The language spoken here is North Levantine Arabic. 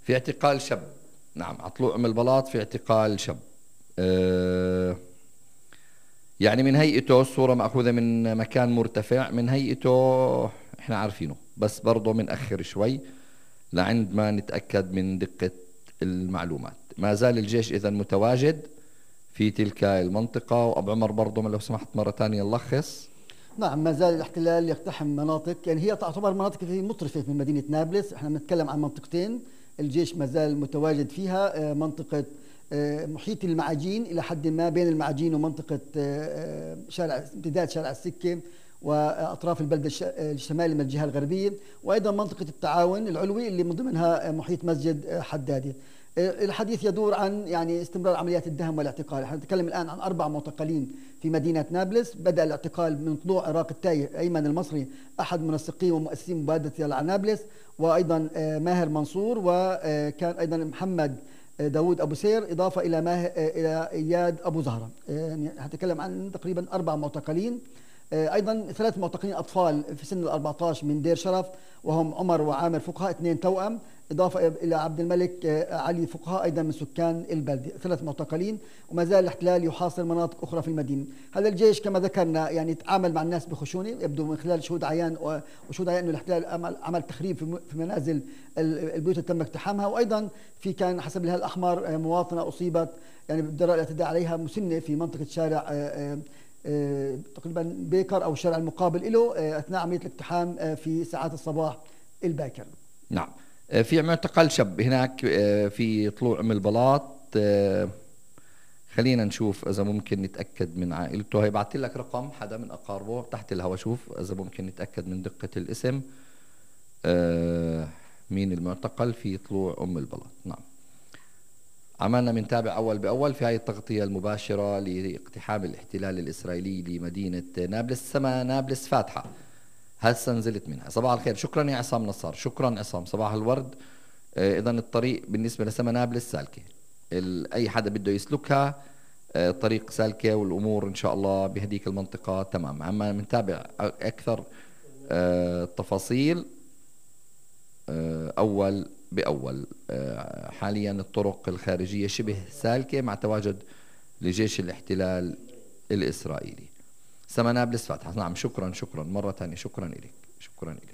في اعتقال شاب. نعم، على طلوع البلاط في اعتقال شاب. يعني من هيئته الصورة مأخوذة من مكان مرتفع، من هيئته احنا عارفينه، بس برضه منأخر شوي لعند ما نتأكد من دقة المعلومات. ما زال الجيش إذن متواجد في تلك المنطقة. وأبو عمر برضه لو سمحت مرة ثانية نلخص. نعم، ما زال الاحتلال يقتحم مناطق، يعني هي تعتبر مناطق في مطرفة من مدينة نابلس. احنا بنتكلم عن منطقتين الجيش ما زال متواجد فيها. منطقة محيط المعاجين إلى حد ما، بين المعاجين ومنطقة شارع امتداد شارع السكة وأطراف البلدة الشمالي من الجهة الغربية، وأيضا منطقة التعاون العلوي اللي من ضمنها محيط مسجد حدادي. الحديث يدور عن يعني استمرار عمليات الدهم والاعتقال. نحن نتكلم الآن عن 4 معتقلين في مدينة نابلس. بدأ الاعتقال من طلوع عراق التايه أيمن المصري، أحد منسقين ومؤسسين مبادرة يلا على نابلس، وأيضا ماهر منصور، وكان أيضا محمد داود أبو سير، إضافة إلى إلى إياد أبو زهرة. يعني هتكلم عن تقريبا 4 معتقلين. أيضا 3 معتقلين أطفال في سن 14 من دير شرف، وهم عمر وعامر فقهاء 2 توأم، إضافة إلى عبد الملك علي فقهاء أيضا من سكان البلدة. 3 معتقلين. وما زال الاحتلال يحاصر مناطق أخرى في المدينة. هذا الجيش كما ذكرنا يعني يتعامل مع الناس بخشونة، يبدو من خلال شهود عيان وشهود عيان أنه الاحتلال عمل تخريب في منازل البيوت اللي تم اقتحامها. وأيضا في كان حسب الهلال الأحمر مواطنة أصيبت يعني بالجراء الاعتداء عليها مسنة في منطقة شارع تقريبا بيكر أو الشارع المقابل له أثناء عملية الاقتحام في ساعات الصباح الباكر. نعم. في معتقل شاب هناك في طلوع من البلاط. خلينا نشوف إذا ممكن نتأكد من عائلته. هيبعت لك رقم حدا من أقاربه تحت الهوا، شوف إذا ممكن نتأكد من دقة الاسم. مين المعتقل في طلوع البلاط. نعم، عملنا منتابع أول بأول في هاي التغطية المباشرة لاقتحام الاحتلال الإسرائيلي لمدينة نابلس. سما نابلس فاتحة، هسه نزلت منها. صباح الخير. شكرا يا عصام نصار. شكرا عصام، صباح الورد. إذا الطريق بالنسبة لسما نابلس سالكة، أي حدا بده يسلكها طريق سالكة، والأمور إن شاء الله بهديك المنطقة تمام. أما منتابع أكثر التفاصيل أول بأول. حاليا الطرق الخارجية شبه سالكة مع تواجد لجيش الاحتلال الإسرائيلي. سما نابلس فاتحة. نعم، شكرا مرة ثانية. شكرا لك.